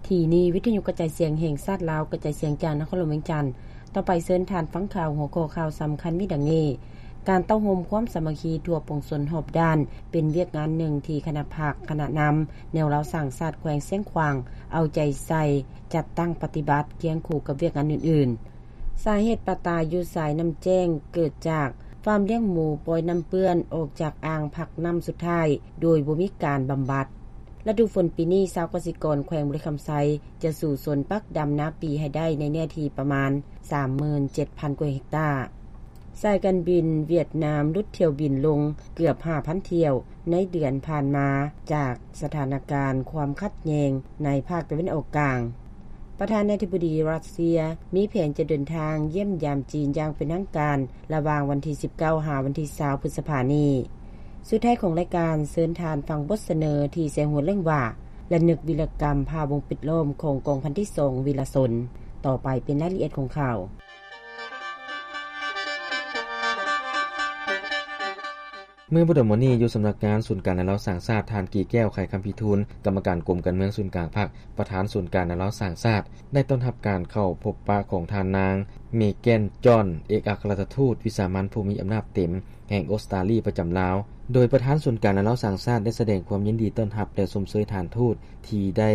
ທີ່ນີ້ ວິທະຍຸກະຈາຍສຽງແຫ່ງຊາດລາວ ກະຈາຍສຽງຈາກນະຄອນຫຼວງວຽງຈັນ. ຕໍ່ໄປເຊີນທ່ານຟັງຂ່າວ ຫົວຂໍ້ຂ່າວສຳຄັນມີດັ່ງນີ້: ການເຕົ້າໂຮມຄວາມສາມັກຄີທົ່ວປວງຊົນຮອບດ້ານ ເປັນວຽກງານໜຶ່ງທີ່ຄະນະພັກ, ຄະນະນຳແນວລາວສ້າງຊາດແຂວງຊຽງຂວາງ ເອົາໃຈໃສ່ຈັດຕັ້ງປະຕິບັດ ຄຽງຄູ່ກັບວຽກງານອື່ນໆ. ສາເຫດປາຕາຍຢູ່ສາຍນ້ຳແຈ້ງເກີດຈາກຟາມລ້ຽງໝູປ່ອຍນ້ຳເປື້ອນອອກຈາກອ່າງພັກນ້ຳສຸດທ້າຍ ໂດຍບໍ່ມີການບຳບັດ. ລະດູຝົນປີນີ້ ຊາວກະສິກອນແຂວງບໍລິຄຳໄຊ ຈະສູ້ຊົນປັກດຳນາປີໃຫ້ໄດ້ໃນເນື້ອທີ່ປະມານ ສາມໝື່ນເຈັດພັນກວ່າເຮັກຕາ. ສາຍການບິນຫວຽດນາມຫຼຸດຖ້ຽວບິນລົງເກືອບຫ້າພັນຖ້ຽວໃນເດືອນຜ່ານມາ ຈາກສະຖານະການຄວາມຂັດແຍ່ງໃນພາກຕາເວັນອອກກາງ. ປະທານາທິບໍດີຣັດເຊຍ ມີແຜນຈະເດີນທາງຢ້ຽມຢາມຈີນຢ່າງເປັນທາງການ ລະຫວ່າງວັນທີສິບເກົ້າ ຫາວັນທີຊາວ ພຶດສະພານີ້. ສຸດທ້າຍຂອງລາຍການ ເຊີນທ່ານຟັງບົດສະເໜີທີ່ໃສ່ຫົວເລື່ອງວ່າ ລະນຶກວິລະກຳພາວົງປິດລ້ອມຂອງກອງພັນທີສອງ ວິລະຊົນ. ຕໍ່ໄປເປັນລາຍລະອຽດຂອງຂ່າວ. ເມື່ອບໍ່ດົນມານີ້ ຢູ່ສຳນັກງານສູນກາງແນວລາວສ້າງຊາດ, ທ່ານ ກີແກ້ວ ໄຂຄຳພິທູນ ກຳມະການກົມການເມືອງສູນກາງພັກ, ປະທານສູນກາງແນວລາວສ້າງຊາດ ໄດ້ຕ້ອນຮັບການເຂົ້າພົບປະຂອງທ່ານນາງ ເມແກນ ຈອນ ເອກອັກຄະລັດຖະທູດວິສາມັນຜູ້ມີອຳນາດເຕັມແຫ່ງອົດສະຕາລີປະຈຳລາວ, ໂດຍປະທານສູນກາງແນວລາວສ້າງຊາດ ໄດ້ສະແດງຄວາມຍິນດີຕ້ອນຮັບ ແລະ ຊົມເຊີຍທ່ານທູດທີ່ໄດ້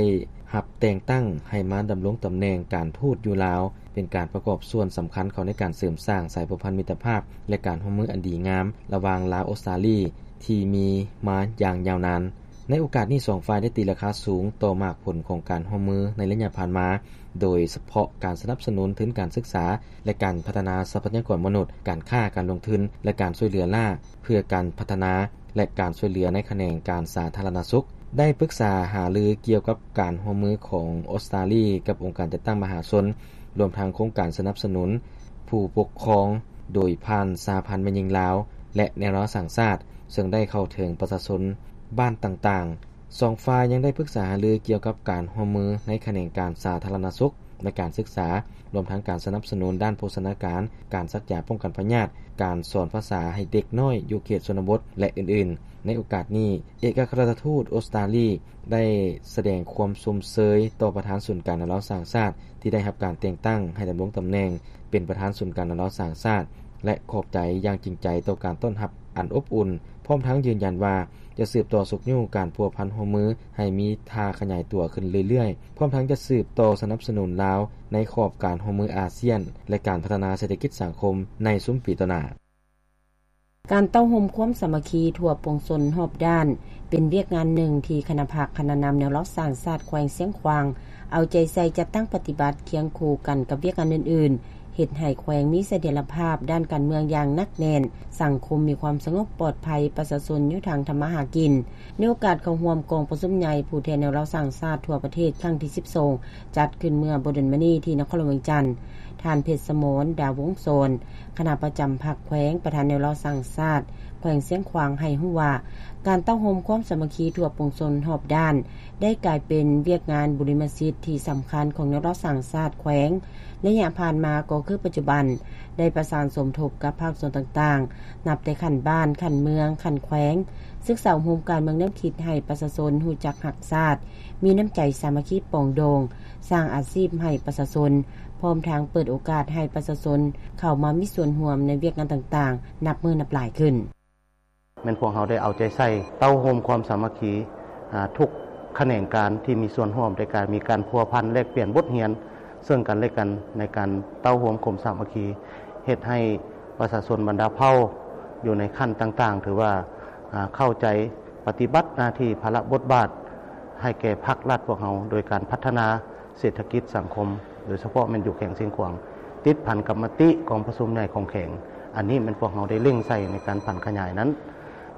ຮັບແຕ່ງຕັ້ງໃຫ້ມາດຳລົງຕຳແໜ່ງການທູດຢູ່ລາວ, ເປັນການປະກອບສ່ວນສຳຄັນເຂົ້າໃນການເສີມສ້າງສາຍພົວພັນມິດຕະພາບ ແລະ ການຮ່ວມມືອັນດີງາມລະຫວ່າງລາວ-ອົດສະຕາລີ ທີ່ມີມາຢ່າງຍາວນານ. ໃນໂອກາດນີ້ ສອງຝ່າຍໄດ້ຕີລາຄາສູງຕໍ່ໝາກຜົນຂອງການຮ່ວມມືໃນໄລຍະຜ່ານມາ, ໂດຍສະເພາະການສະໜັບສະໜູນທຶນການສຶກສາ ແລະ ການພັດທະນາຊັບພະຍາກອນມະນຸດ, ການຄ້າ, ການລົງທຶນ ແລະ ການຊ່ວຍເຫຼືອລ້າເພື່ອການພັດທະນາ ແລະ ການຊ່ວຍເຫຼືອໃນຂະແໜງການສາທາລະນະສຸກ, ໄດ້ປຶກສາຫາລືກ່ຽວກັບການຮ່ວມມືຂອງອົດສະຕາລີກັບອົງການຈັດຕັ້ງມະຫາຊົນ, ລວມທັງໂຄງການສະໜັບສະໜູນຜູ້ປົກຄອງໂດຍຜ່ານສະຫະພັນແມ່ຍິງລາວ ແລະ ແນວລາວສ້າງຊາດ, ເຊິ່ງໄດ້ເຂົ້າເຖິງປະຊາຊົນບ້ານຕ່າງໆ. ສອງຝ່າຍຍັງໄດ້ປຶກສາຫາລືກ່ຽວກັບການຮ່ວມມືໃນຂະແໜງການສາທາລະນະສຸກ ແລະ ການສຶກສາ, ລວມທັງການສະໜັບສະໜູນດ້ານໂພຊະນາການ, ການສັກຢາປ້ອງກັນພະຍາດ, ການສອນພາສາໃຫ້ເດັກນ້ອຍຢູ່ເຂດຊົນນະບົດ ແລະ ອື່ນໆ. ໃນໂອກາດນີ້ ເອກອັກຄະລັດຖະທູດອົດສະຕາລີ ໄດ້ສະແດງຄວາມຊົມເຊີຍຕໍ່ປະທານສູນກາງແນວລາວສ້າງຊາດ ທີ່ໄດ້ຮັບການແຕ່ງຕັ້ງໃຫ້ດຳລົງຕຳແໜ່ງເປັນປະທານສູນກາງແນວລາວສ້າງຊາດ ແລະ ຂອບໃຈຢ່າງຈິງໃຈຕໍ່ການຕ້ອນຮັບອັນອົບອຸ່ນ, ພ້ອມທັງຢືນຢັນວ່າຈະສືບຕໍ່ຊຸກຍູ້ການພົວພັນຮ່ວມມືໃຫ້ມີທ່າຂະຫຍາຍຕົວຂຶ້ນເລື້ອຍໆ, ພ້ອມທັງຈະສືບຕໍ່ສະໜັບສະໜູນລາວໃນຂອບການຮ່ວມມືອາຊຽນ ແລະ ການພັດທະນາເສດຖະກິດສັງຄົມໃນຊຸມປີຕໍ່ໜ້າ. ການເຕົ້າໂຮມຄວາມສາມັກຄີທົ່ວປວງຊົນຮອບດ້ານ ເປັນວຽກງານໜຶ່ງທີ່ຄະນະພັກ, ຄະນະນຳແນວລາວສ້າງຊາດແຂວງຊຽງຂວາງ ເອົາໃຈໃສ່ຈັດຕັ້ງປະຕິບັດຄຽງຄູ່ກັນກັບວຽກງານອື່ນໆ, ເຮັດໃຫ້ແຂວງມີສະຖຽນລະພາບດ້ານການເມືອງຢ່າງໜັກແໜ້ນ, ສັງຄົມມີຄວາມສະຫງົບປອດໄພ, ປະຊາຊົນຢູ່ທາງທຳມາຫາກິນ. ໃນໂອກາດເຂົ້າຮ່ວມກອງປະຊຸມໃຫຍ່ຜູ້ແທນແນວລາວສ້າງຊາດທົ່ວປະເທດຄັ້ງທີສິບສອງ ຈັດຂຶ້ນເມື່ອບໍ່ດົນມານີ້ທີ່ນະຄອນຫຼວງວຽງຈັນ, ທ່ານ ເພັດສະໝອນ ດາວົງສອນ ຄະນະປະຈຳພັກແຂວງ, ປະທານແນວລາວສ້າງຊາດແຂວງຊຽງຂວາງ ໃຫ້ຮູ້ວ່າ ການເຕົ້າໂຮມຄວາມສາມັກຄີທົ່ວປວງຊົນຮອບດ້ານ ໄດ້ກາຍເປັນວຽກງານບຸລິມະສິດທີ່ສຳຄັນຂອງແນວລາວສ້າງຊາດແຂວງ. ໄລຍະຜ່ານມາກໍຄືປັດຈຸບັນ ໄດ້ປະສານສົມທົບກັບພາກສ່ວນຕ່າງໆ ນັບແຕ່ຂັ້ນບ້ານ, ຂັ້ນເມືອງ, ຂັ້ນແຂວງ, ສຶກສາອົບຮົມການເມືອງແນວຄິດໃຫ້ປະຊາຊົນຮູ້ຈັກຮັກຊາດ, ມີນ້ຳໃຈສາມັກຄີປອງດອງ, ສ້າງອາຊີບໃຫ້ປະຊາຊົນ, ພ້ອມທັງເປີດໂອກາດໃຫ້ປະຊາຊົນເຂົ້າມາມີສ່ວນຮ່ວມໃນວຽກງານຕ່າງໆ ນັບມື້ນັບຫຼາຍຂຶ້ນ. ແມ່ນພວກເຮົາໄດ້ເອົາໃຈໃສ່ເຕົ້າໂຮມຄວາມສາມັກຄີ ອາ ທຸກຂະແໜງການທີ່ມີສ່ວນຮ່ວມ ໃນການມີການພົວພັນແລກປ່ຽນບົດຮຽນເຊິ່ງກັນແລະກັນ ໃນການເຕົ້າໂຮມຄວາມສາມັກຄີ ເຮັດໃຫ້ປະຊາຊົນບັນດາເຜົ່າຢູ່ໃນຂັ້ນຕ່າງໆ ຖືວ່າ ອາ ເຂົ້າໃຈປະຕິບັດໜ້າທີ່ພາລະບົດບາດໃຫ້ແກ່ພັກລັດພວກເຮົາ ໂດຍການພັດທະນາ ເສດຖະກິດສັງຄົມ ໂດຍສະເພາະແມ່ນຢູ່ແຂວງຊຽງຂວາງ ຕິດພັນກັບມະຕິກອງປະຊຸມໃຫຍ່ຂອງແຂວງ. ອັນນີ້ແມ່ນພວກເຮົາໄດ້ເລັ່ງໃສ່ໃນການຜັນຂະຫຍາຍນັ້ນ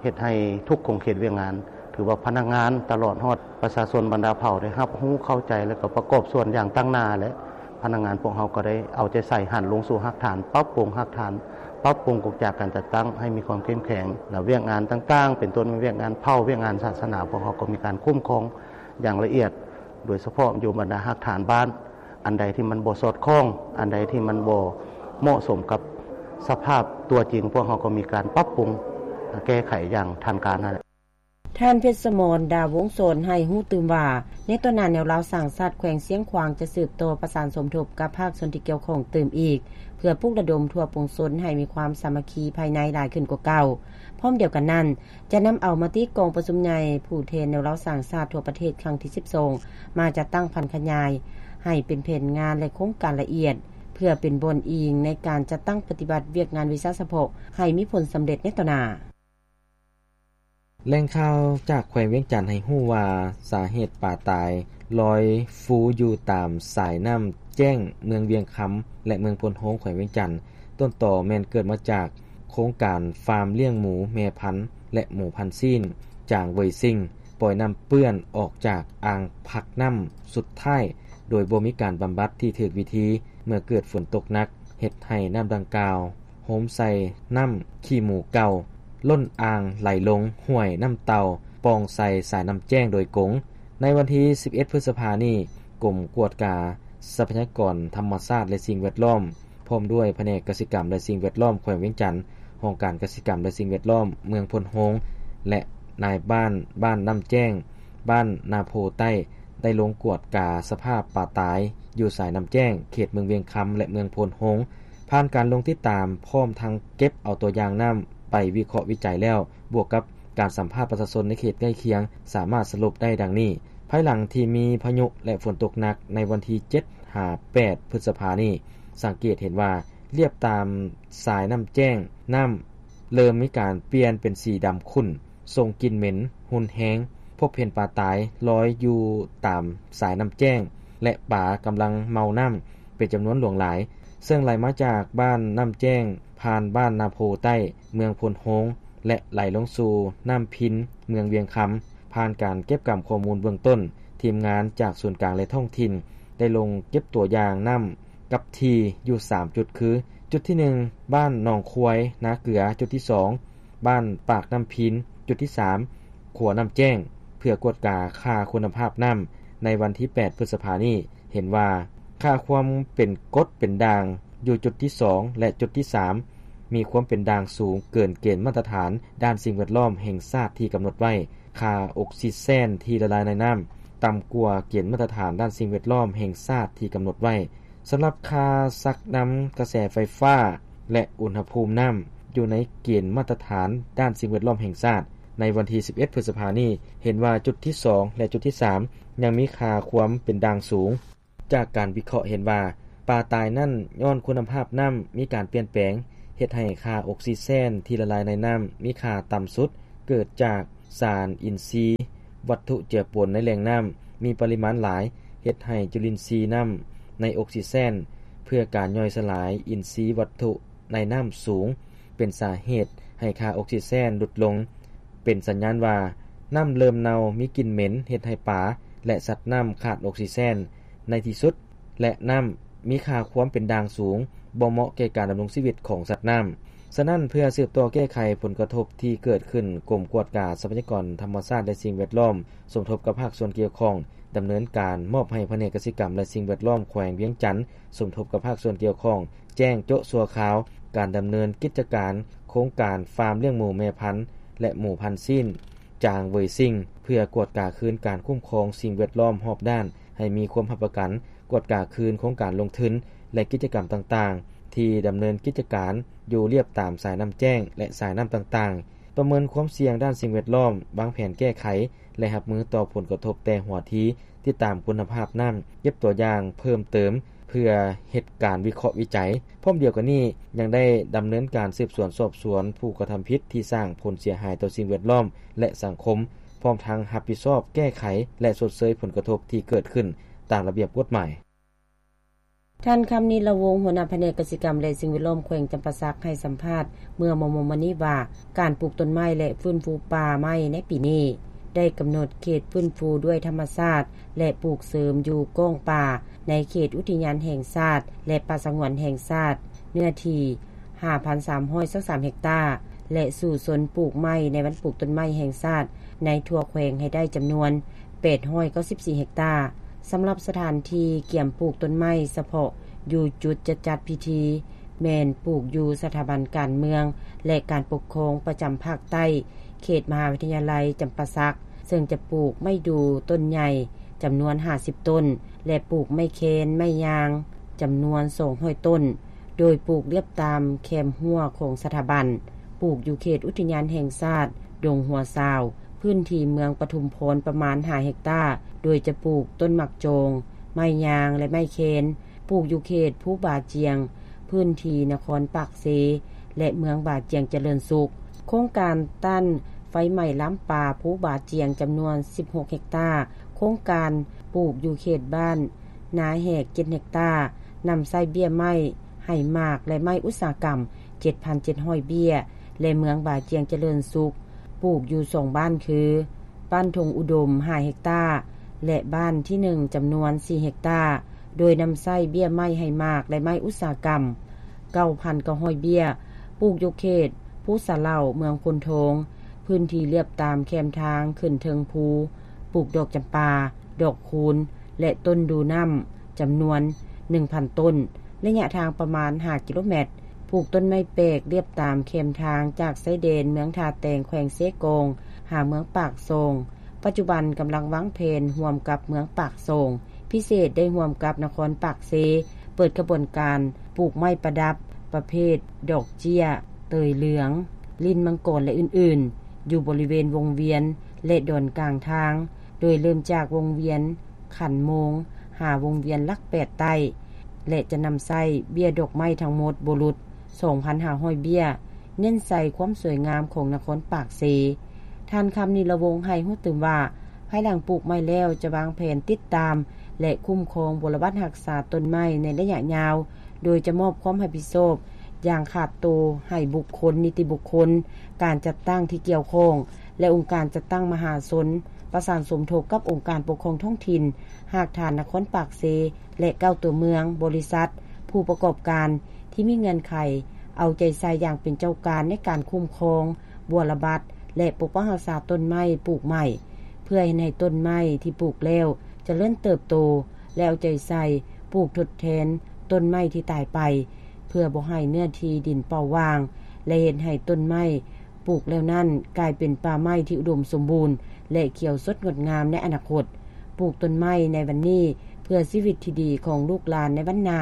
ເຮັດໃຫ້ທຸກຂົງເຂດວຽກງານ ຖືວ່າພະນັກງານຕະຫຼອດຮອດປະຊາຊົນບັນດາເຜົ່າໄດ້ຮັບຮູ້ເຂົ້າໃຈ ແລະກໍປະກອບສ່ວນຢ່າງຕັ້ງໜ້າ ແລະພະນັກງານພວກເຮົາກໍໄດ້ເອົາໃຈໃສ່ຫັນລົງສູ່ຮາກຖານ, ປັບປຸງຮາກຖານ, ປັບປຸງກົງຈັກການຈັດຕັ້ງໃຫ້ມີຄວາມເຂັ້ມແຂງ ແລະວຽກງານຕ່າງໆ ເປັນຕົ້ນແມ່ນວຽກງານເຜົ່າ, ວຽກງານສາສະໜາ ພວກເຮົາກໍມີການຄຸ້ມຄອງຢ່າງລະອຽດ. ໂດຍສະເພາະຢູ່ບັນດາຮາກຖານບ້ານ ອັນໃດທີ່ມັນບໍ່ສອດຄ່ອງ ອັນໃດທີ່ມັນບໍ່ເໝາະສົມກັບສະພາບຕົວຈິງ ພວກເຮົາກໍມີການປັບປຸງແກ້ໄຂຢ່າງທັນການຫັ້ນແຫຼະ. ທ່ານ ເພັດສະໝອນ ດາວົງສອນ ໃຫ້ຮູ້ຕື່ມວ່າ ໃນຕໍ່ໜ້າ ແນວລາວສ້າງຊາດ ແຂວງຊຽງຂວາງ ຈະສືບຕໍ່ປະສານສົມທົບ ກັບພາກສ່ວນທີ່ກ່ຽວຂ້ອງຕື່ມອີກ ເພື່ອປຸກລະດົມທົ່ວປວງຊົນ ໃຫ້ມີຄວາມສາມັກຄີພາຍໃນຫຼາຍຂຶ້ນກວ່າເກົ່າ. ພ້ອມດຽວກັນນັ້ນ ຈະນຳເອົາມະຕິກອງປະຊຸມໃຫຍ່ ຜູ້ແທນແນວລາວສ້າງຊາດທົ່ວປະເທດ ຄັ້ງທີສິບສອງ ມາຈັດຕັ້ງຜັນຂະຫຍາຍ ໃຫ້ເປັນແຜນງານ ແລະ ໂຄງການລະອຽດ ເພື່ອເປັນບ່ອນອີງໃນການຈັດຕັ້ງປະຕິບັດວຽກງານວິຊາສະເພາະ ໃຫ້ມີຜົນສຳເລັດໃນຕໍ່ໜ້າ. ແຫຼ່ງຂ່າວຈາກແຂວງວຽງຈັນໃຫ້ຮູ້ວ່າ ສາເຫດປາຕາຍລອຍຟູຢູ່ຕາມສາຍນ້ຳແຈ້ງ ເມືອງວຽງຄຳ ແລະ ເມືອງໂພນໂຮງ ແຂວງວຽງຈັນ ຕົ້ນຕໍແມ່ນເກີດມາຈາກໂຄງການຟາມລ້ຽງໝູແມ່ພັນ ແລະ ໝູພັນຊີ້ນ ຈາງເຫວີຍຊິງ ປ່ອຍນ້ຳເປື້ອນອອກຈາກອ່າງພັກນ້ຳສຸດທ້າຍ ໂດຍບໍ່ມີການບຳບັດທີ່ຖືກວິທີ ເມື່ອເກີດຝົນຕົກໜັກ ເຮັດໃຫ້ນ້ຳດັ່ງກ່າວ ໂຮມໃສ່ນ້ຳຂີ້ໝູເກົ່າ ລົ້ນອ່າງໄຫຼລົງຫ້ວຍນ້ຳເຕົ່າ ປ່ອງໃສ່ສາຍນ້ຳແຈ້ງໂດຍກົງ. ໃນວັນທີສິບເອັດ ພຶດສະພານີ້, ກົມກວດກາຊັບພະຍາກອນທຳມະຊາດ ແລະ ສິ່ງແວດລ້ອມ ພ້ອມດ້ວຍພະແນກກະສິກຳ ແລະ ສິ່ງແວດລ້ອມ ແຂວງວຽງຈັນ, ຫ້ອງການກະສິກຳ ແລະ ສິ່ງແວດລ້ອມ ເມືອງໂພນໂຮງ ແລະ ນາຍບ້ານ ບ້ານນ້ຳແຈ້ງ, ບ້ານນາໂພໃຕ້ ໄດ້ລົງກວດກາສະພາບປາຕາຍ ຢູ່ສາຍນ້ຳແຈ້ງ ເຂດເມືອງວຽງຄຳ ແລະ ເມືອງໂພນໂຮງ. ຜ່ານການລົງຕິດຕາມ ພ້ອມທັງເກັບເອົາຕົວຢ່າງນ້ຳໄປວິເຄາະວິໄຈແລ້ວ, ບວກກັບການສຳພາດປະຊາຊົນໃນເຂດໃກ້ຄຽງ ສາມາດສະຫຼຸບໄດ້ດັ່ງນີ້. ພາຍຫຼັງທີ່ມີພາຍຸ ແລະ ຝົນຕົກໜັກໃນວັນທີເຈັດ ຫາ ແປດ ພຶດສະພານີ້, ສັງເກດເຫັນວ່າ ລຽບຕາມສາຍນ້ຳແຈ້ງ, ນ້ຳເລີ່ມມີການປ່ຽນເປັນສີດຳຂຸ້ນ, ສົ່ງກິ່ນເໝັນຮຸນແຮງ, ພົບເຫັນປາຕາຍລອຍຢູ່ຕາມສາຍນ້ຳແຈ້ງ ແລະ ປາກຳລັງເມົານ້ຳເປັນຈຳນວນຫຼວງຫຼາຍ, ເຊິ່ງໄຫຼມາຈາກບ້ານນ້ຳແຈ້ງ ຜ່ານບ້ານນາໂພໃຕ້ ເມືອງໂພນໂຮງ ແລະ ໄຫຼລົງສູ່ນ້ຳພິນ ເມືອງວຽງຄຳ. ຜ່ານການເກັບກຳຂໍ້ມູນເບື້ອງຕົ້ນ, ທີມງານຈາກສູນກາງ ແລະ ທ້ອງຖິ່ນ ໄດ້ລົງເກັບຕົວຢ່າງນ້ຳກັບທີ່ຢູ່ສາມຈຸດ ຄື ຈຸດທີໜຶ່ງ ບ້ານໜອງຄວາຍ ນາເກືອ, ຈຸດທີສອງ ບ້ານປາກນ້ຳພິນ, ຈຸດທີສາມ ຂົວນ້ຳແຈ້ງ ເພື່ອກວດກາຄ່າຄຸນນະພາບນ້ຳໃນວັນທີແປດ ພຶດສະພານີ້ ເຫັນວ່າ ຄ່າຄວາມເປັນກົດເປັນດ່າງຢູ່ຈຸດທີສອງ ແລະ ຈຸດທີສາມ ມີຄວາມເປັນດ່າງສູງເກີນເກນມາດຕະຖານດ້ານສິ່ງແວດລ້ອມແຫ່ງຊາດທີ່ກຳນົດໄວ້, ຄ່າອົກຊີເຊນທີ່ລະລາຍໃນນ້ຳຕ່ຳກວ່າເກນມາດຕະຖານດ້ານສິ່ງແວດລ້ອມແຫ່ງຊາດທີ່ກຳນົດໄວ້. ສຳລັບຄ່າຊັກນຳກະແສໄຟຟ້າ ແລະ ອຸນຫະພູມນ້ຳ ຢູ່ໃນເກນມາດຕະຖານດ້ານສິ່ງແວດລ້ອມແຫ່ງຊາດ ໃນວັນທີສິບເອັດ ພຶດສະພານີ້ ເຫັນວ່າຈຸດທີສອງ ແລະ ຈຸດທີສາມ ຍັງມີຄ່າຄວາມເປັນດ່າງສູງ. ຈາກການວິເຄາະເຫັນວ່າ ປາຕາຍນັ້ນຍ້ອນຄຸນນະພາບນ້ຳມີການປ່ຽນແປງ ເຮັດໃຫ້ຄ່າອົກຊີເຊນທີ່ລະລາຍໃນນ້ຳມີຄ່າຕ່ຳສຸດ ເກີດຈາກສານອິນຊີວັດຖຸເຈືອປົນໃນແຫຼ່ງນ້ຳມີປະລິມານຫຼາຍ ເຮັດໃຫ້ຈຸລິນຊີນ້ຳໃນອົກຊີເຊນ ເພື່ອການຍ່ອຍສະຫຼາຍອິນຊີວັດຖຸໃນນ້ຳສູງ ເປັນສາເຫດໃຫ້ຄ່າອົກຊີເຊນຫຼຸດລົງ, ເປັນສັນຍານວ່ານ້ຳເລີ່ມເນົ່າ, ມີກິ່ນເໝັນ, ເຮັດໃຫ້ປາ ແລະ ສັດນ້ຳຂາດອົກຊີເຊນ. ໃນທີ່ສຸດ ແລະ ນ້ຳມີຄ່າຄວາມເປັນດ່າງສູງ, ບໍ່ເໝາະແກ່ການດຳລົງຊີວິດຂອງສັດນ້ຳ. ສະນັ້ນ, ເພື່ອສືບຕໍ່ແກ້ໄຂຜົນກະທົບທີ່ເກີດຂຶ້ນ, ກົມກວດກາຊັບພະຍາກອນທຳມະຊາດ ແລະ ສິ່ງແວດລ້ອມ ສົມທົບກັບພາກສ່ວນກ່ຽວຂ້ອງ ດຳເນີນການມອບໃຫ້ພະແນກກະສິກຳ ແລະ ສິ່ງແວດລ້ອມແຂວງວຽງຈັນ ສົມທົບກັບພາກສ່ວນກ່ຽວຂ້ອງ ແຈ້ງໂຈະຊົ່ວຄາວການດຳເນີນກິດຈະການໂຄງການຟາມລ້ຽງໝູແມ່ພັນ ແລະ ໝູພັນຊີ້ນ ຈາງເຫວີຍຊິງ ເພື່ອກວດກາຄືນການຄຸ້ມຄອງສິ່ງແວດລ້ອມຮອບດ້ານ ໃຫ້ມີຄວາມຮັບປະກັນ, ກວດກາຄືນໂຄງການລົງທຶນ ແລະ ກິດຈະກຳຕ່າງໆ ທີ່ດຳເນີນກິດຈະການຢູ່ລຽບຕາມສາຍນ້ຳແຈ້ງ ແລະ ສາຍນ້ຳຕ່າງໆ, ປະເມີນຄວາມສ່ຽງດ້ານສິ່ງແວດລ້ອມ, ວາງແຜນແກ້ໄຂ ແລະ ຮັບມືຕໍ່ຜົນກະທົບແຕ່ຫົວທີ, ຕິດຕາມຄຸນນະພາບນ້ຳ, ເກັບຕົວຢ່າງເພີ່ມເຕີມ ເພື່ອເຮັດການວິເຄາະວິໄຈ. ພ້ອມດຽວກັນນີ້ ຍັງໄດ້ດຳເນີນການສືບສວນສອບສວນຜູ້ກະທຳຜິດທີ່ສ້າງຜົນເສຍຫາຍຕໍ່ສິ່ງແວດລ້ອມ ແລະ ສັງຄົມ, ພ້ອມທັງຮັບຜິດຊອບແກ້ໄຂ ແລະ ຊົດເຊີຍຜົນກະທົບທີ່ເກີດຂຶ້ນຕາມລະບຽບກົດໝາຍ. ທ່ານ ຄຳນິດ ລະວົງ ຫົວໜ້າພະແນກກະສິກຳ ແລະ ສິ່ງແວດລ້ອມແຂວງຈຳປາສັກ ໃຫ້ສຳພາດເມື່ອມໍ່ໆມານີ້ວ່າ ການປູກຕົ້ນໄມ້ ແລະ ຟື້ນຟູປ່າໄມ້ໃນປີນີ້ ໄດ້ກຳນົດເຂດຟື້ນຟູດ້ວຍທຳມະຊາດ ແລະ ປູກເສີມຢູ່ກ້ອງປ່າ ໃນເຂດອຸທິຍານແຫ່ງຊາດ ແລະ ປ່າສະຫງວນແຫ່ງຊາດ ເນື້ອທີ່ ຫ້າພັນສາມຮ້ອຍຊາວສາມເຮັກຕາ ແລະ ສູ້ຊົນປູກໄມ້ໃນວັນປູກຕົ້ນໄມ້ແຫ່ງຊາດໃນທົ່ວແຂວງໃຫ້ໄດ້ຈຳນວນ ແປດຮ້ອຍເກົ້າສິບສີ່ເຮັກຕາ. ສຳລັບສະຖານທີ່ກຽມປູກຕົ້ນໄມ້ສະເພາະຢູ່ຈຸດຈະຈັດພິທີ ແມ່ນປູກຢູ່ສະຖາບັນການເມືອງ ແລະ ການປົກຄອງປະຈຳພາກໃຕ້ ເຂດມະຫາວິທະຍາໄລຈຳປາສັກ, ເຊິ່ງຈະປູກໄມ້ດູຕົ້ນໃຫຍ່ຈຳນວນຫ້າສິບຕົ້ນ ແລະ ປູກໄມ້ແຄນ, ໄມ້ຍາງ ຈຳນວນສອງຮ້ອຍຕົ້ນ, ໂດຍປູກລຽບຕາມແຄມຮົ້ວຂອງສະຖາບັນ, ປູກຢູ່ເຂດອຸທິຍານແຫ່ງຊາດດົງຫົວຊາວ, ພື້ນທີ່ເມືອງປະທຸມພອນປະມານຫ້າເຮັກຕາ, ໂດຍຈະປູກຕົ້ນໝາກຈອງ, ໄມ້ຍາງ ແລະ ໄມ້ແຄນ, ປູກຢູ່ເຂດພູບາຈຽງ, ພື້ນທີ່ນະຄອນປາກເຊ ແລະ ເມືອງບາຈຽງຈະເລີນສຸກ. ໂຄງການຕ້ານໄຟໄໝ້ລາມປ່າພູບາຈຽງຈຳນວນສິບຫົກເຮັກຕາ, ໂຄງການປູກຢູ່ເຂດບ້ານນາແຫກເຈັດເຮັກຕາ, ນຳໃຊ້ເບ້ຍໄມ້ໄຫ້ໝາກ ແລະ ໄມ້ອຸດສາຫະກຳເຈັດພັນເຈັດຮ້ອຍເບ້ຍ ແລະ ເມືອງບາຈຽງຈະເລີນສຸກ ປູກຢູ່ສອງບ້ານຄື ບ້ານທົ່ງອຸດົມຫ້າເຮັກຕາ ແລະ ບ້ານທີໜຶ່ງຈຳນວນສີ່ເຮັກຕາ, ໂດຍນຳໃຊ້ເບ້ຍໄມ້ໄຫ້ໝາກ ແລະ ໄມ້ອຸດສາຫະກຳເກົ້າພັນເກົ້າຮ້ອຍເບ້ຍ, ປູກຢູ່ເຂດພູສະເຫຼົ່າ ເມືອງໂພນທອງ, ພື້ນທີ່ລຽບຕາມແຄມທາງຂຶ້ນເທິງພູ, ປູກດອກຈຳປາ, ດອກຄູນ ແລະ ຕົ້ນດູນ້ຳ ຈຳນວນໜຶ່ງພັນຕົ້ນ, ໄລຍະທາງປະມານຫ້າກິໂລແມັດ, ປູກຕົ້ນໄມ້ແປກລຽບຕາມແຄມທາງຈາກຊາຍແດນເມືອງທ່າແຕງ ແຂວງເຊກອງ ຫາເມືອງປາກຊ່ອງ. ປັດຈຸບັນກຳລັງວາງແຜນຮ່ວມກັບເມືອງປາກຊ່ອງ, ພິເສດໄດ້ຮ່ວມກັບນະຄອນປາກເຊ ເປີດຂະບວນການປູກໄມ້ປະດັບປະເພດດອກເຈ້ຍ, ເຕີຍເຫຼືອງ, ລີ້ນມັງກອນ ແລະ ອື່ນໆ ຢູ່ບໍລິເວນວົງວຽນ ແລະ ດອນກາງທາງ, ໂດຍເລີ່ມຈາກວົງວຽນຂັນໂມງ ຫາວົງວຽນຫຼັກແປດໃຕ້ ແລະ ຈະນຳໃຊ້ເບ້ຍດອກໄມ້ທັງໝົດບໍ່ຫຼຸດສອງພັນຫ້າຮ້ອຍເບ້ຍ, ເນັ້ນໃສ່ຄວາມສວຍງາມຂອງນະຄອນປາກເຊ. ທ່ານ ຄຳນິລະວົງ ໃຫ້ຮູ້ຕື່ມວ່າ ພາຍຫຼັງປູກໄມ້ແລ້ວ ຈະວາງແຜນຕິດຕາມ ແລະ ຄຸ້ມຄອງບົວລະບັດຮັກສາຕົ້ນໄມ້ໃນໄລຍະຍາວ, ໂດຍຈະມອບຄວາມຮັບຜິດຊອບຢ່າງຂາດໂຕໃຫ້ບຸກຄົນ, ນິຕິບຸກຄົນ, ການຈັດຕັ້ງທີ່ກ່ຽວຂ້ອງ ແລະ ອົງການຈັດຕັ້ງມະຫາຊົນ, ປະສານສົມທົບກັບອົງການປົກຄອງທ້ອງຖິ່ນ, ຮາກຖານນະຄອນປາກເຊ ແລະ ເກົ້າຕົວເມືອງ, ບໍລິສັດ, ຜູ້ປະກອບການທີ່ມີເງື່ອນໄຂ, ເອົາໃຈໃສ່ຢ່າງເປັນເຈົ້າການໃນການຄຸ້ມຄອງ, ບົວລະບັດ ແລະ ປົກປັກຮັກສາຕົ້ນໄມ້ປູກໃໝ່, ເພື່ອເຮັດໃຫ້ຕົ້ນໄມ້ທີ່ປູກແລ້ວຈະເລີນເຕີບໂຕ ແລະ ເອົາໃຈໃສ່ປູກທົດແທນຕົ້ນໄມ້ທີ່ຕາຍໄປ, ເພື່ອບໍ່ໃຫ້ເນື້ອທີ່ດິນເປົ່າຫວ່າງ ແລະ ເຮັດໃຫ້ຕົ້ນໄມ້ ປູກແລ້ວນັ້ນກາຍເປັນປ່າໄມ້ທີ່ອຸດົມສົມບູນ ແລະ ຂຽວສົດງົດງາມໃນອະນາຄົດ. ປູກຕົ້ນໄມ້ໃນວັນນີ້ ເພື່ອຊີວິດທີ່ດີຂອງລູກຫຼານໃນວັນໜ້າ.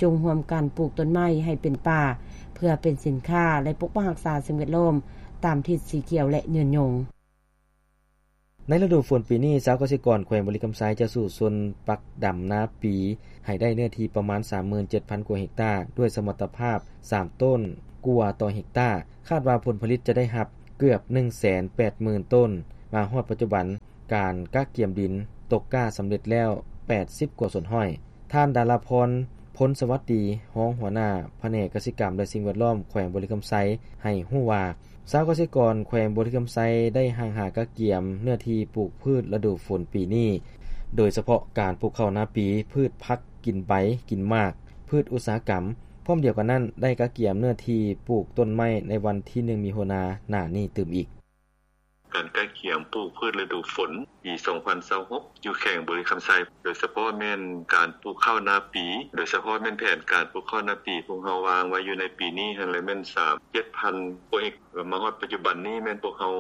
ຈົ່ງຮ່ວມກັນປູກຕົ້ນໄມ້ໃຫ້ເປັນປ່າ ເພື່ອເປັນສິນຄ້າ ແລະ ປົກປັກຮັກສາສິ່ງແວດລ້ອມຕາມທິດສີຂຽວ ແລະ ຍືນຍົງ. ໃນລະດູຝົນປີນີ້, ຊາວກະສິກອນແຂວງບໍລິຄຳໄຊຈະສູ້ຊົນປັກດຳນາປີໃຫ້ໄດ້ເນື້ອທີ່ປະມານສາມໝື່ນເຈັດພັນກວ່າເຮັກຕາ, ດ້ວຍສະມັດຕະພາບສາມໂຕນກວ່າຕໍ່ເຮັກຕາ. ຄາດວ່າຜົນຜະລິດຈະໄດ້ຮັບເກືອບໜຶ່ງແສນແປດໝື່ນໂຕນ. ມາຮອດປັດຈຸບັນ, ການກະກຽມດິນຕົກກ້າສຳເລັດແລ້ວແປດສິບກວ່າສ່ວນຮ້ອຍ. ທ່ານ ດາລາພອນ ພົນສະຫວັດດີ, ຮອງຫົວໜ້າພະແນກກະສິກຳ ແລະ ສິ່ງແວດລ້ອມ ແຂວງບໍລິຄຳໄຊ ໃຫ້ຮູ້ວ່າ, ຊາວກະສິກອນແຂວງບໍລິຄຳໄຊໄດ້ຮັ່ງຫາກະກຽມເນື້ອທີ່ປູກພືດລະດູຝົນປີນີ້, ໂດຍສະເພາະການປູກເຂົ້ານາປີ, ພືດຜັກກິນໃບກິນໝາກ, ພືດອຸດສາຫະກຳ. ພ້ອມດຽວກັນນັ້ນ, ໄດ້ກະກຽມເນື້ອທີ່ປູກຕົ້ນໄມ້ໃນວັນທີໜຶ່ງ ມິຖຸນາ ໜ້ານີ້ຕື່ມອີກ. ການກະກຽມປູກພືດລະດູຝົນປີສອງພັນຊາວຫົກ ຢູ່ແຂວງບໍລິຄຳໄຊ, ໂດຍສະເພາະແມ່ນການປູກເຂົ້ານາປີ, ໂດຍສະເພາະແມ່ນແຜນການປູກເຂົ້ານາປີ ພວກເຮົາວາງໄວ້ຢູ່ໃນປີນີ້ຫັ້ນແຫຼະ ແມ່ນສາມ ເຈັດພັນກວ່າເຮັກ. ມາຮອດປັດຈຸບັນນີ້ ແມ່ນພວກເຮົາ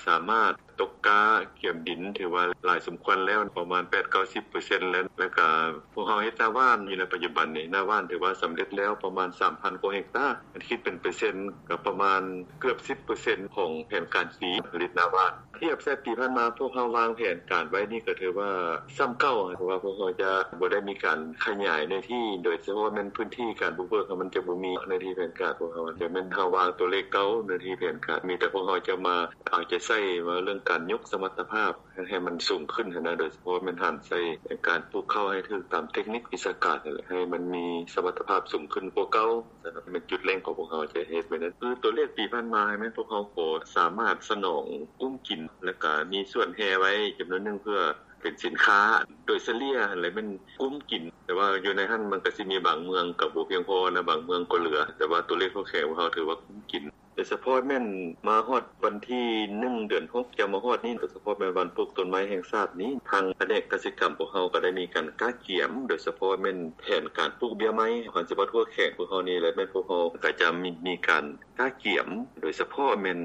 ສາມາດຕົກກ້າກຽມດິນ ຖືວ່າຫຼາຍສົມຄວນແລ້ວ, ປະມານແປດເກົ້າສິບເປີເຊັນແລ້ວ. ແລ້ວກະພວກເຮົາເຮັດນາຫວ່ານຢູ່ໃນປັດຈຸບັນນີ້, ນາຫວ່ານຖືວ່າສຳເລັດແລ້ວປະມານສາມພັນກວ່າເຮັກຕາ, ຄັນຄິດເປັນເປີເຊັນ ກໍປະມານເກືອບສິບເປີເຊັນຂອງແຜນການປີຜະລິດນາຫວ່ານ. ທຽບໃສ່ປີຜ່ານມາ, ພວກເຮົາວາງແຜນການໄວ້ນີ້ກໍຖືວ່າສ່ຳເກົ່າ, ເພາະວ່າພວກເຮົາຈະບໍ່ໄດ້ມີການຂະຫຍາຍເນື້ອທີ່, ໂດຍສະເພາະແມ່ນພື້ນທີ່ການບຸກເບີກ ມັນຈະບໍ່ມີເນື້ອທີ່ແຜນການພວກເຮົາ, ຈະແມ່ນເຮົາວາງຕົວເລກເກົ່າ, ເນື້ອທີ່ແຜນການ, ມີແຕ່ພວກເຮົາຈະມາເອົາໃຈໃສ່ວ່າເລື່ອງການຍົກສະມັດຕະພາບໃຫ້ມັນສູງຂຶ້ນຫັ້ນນະ, ໂດຍສະເພາະແມ່ນຫັນໃສ່ການປູກເຂົ້າໃຫ້ຖືກຕາມເຕັກນິກວິຊາການຫັ້ນແຫຼະ, ໃຫ້ມັນມີສະມັດຕະພາບສູງຂຶ້ນກວ່າເກົ່າ. ສະນັ້ນແມ່ນຈຸດເລັ່ງຂອງພວກເຮົາຈະເຮັດໄວ້ນັ້ນ. ຄືຕົວເລກປີຜ່ານມາ ແມ່ນພວກເຮົາກໍສາມາດສະໜອງກຸ້ມກິນ ແລ້ວກະມີສວນແຮ່ໄວ້ຈຳນວນໜຶ່ງເພື່ອເປັນສິນຄ້າ. ໂດຍສະເລ່ຍຫັ້ນແຫຼະແມ່ນກຸ້ມກິນ, ແຕ່ວ່າຢູ່ໃນຫັ້ນມັນກະຊິມີບາງເມືອງກໍບໍ່ພຽງພໍນະ, ບາງເມືອງກໍເຫຼືອ, ແຕ່ວ່າຕົວເລກຂອງແຂວງພວກເຮົາຖືວ່າກຸ້ມກິນ. ໄລ ສະເພາະແມ່ນມາຮອດວັນທີໜຶ່ງ ເດືອນຫົກ ຈະມາຮອດນີ້ ໂດຍສະເພາະແມ່ນວັນປູກຕົ້ນໄມ້ແຫ່ງຊາດນີ້ ທາງພະແນກກະສິກຳພວກເຮົາກໍໄດ້ມີການກະກຽມ ໂດຍສະເພາະແມ່ນແຜນການປູກເບ້ຍໄມ້ ຄັນຊິເວົ້າທົ່ວແຂວງພວກເຮົານີ້ແຫຼະ ແມ່ນພວກເຮົາກໍຈະມີ ມີການກະກຽມ ໂດຍສະເພາະແມ່ນ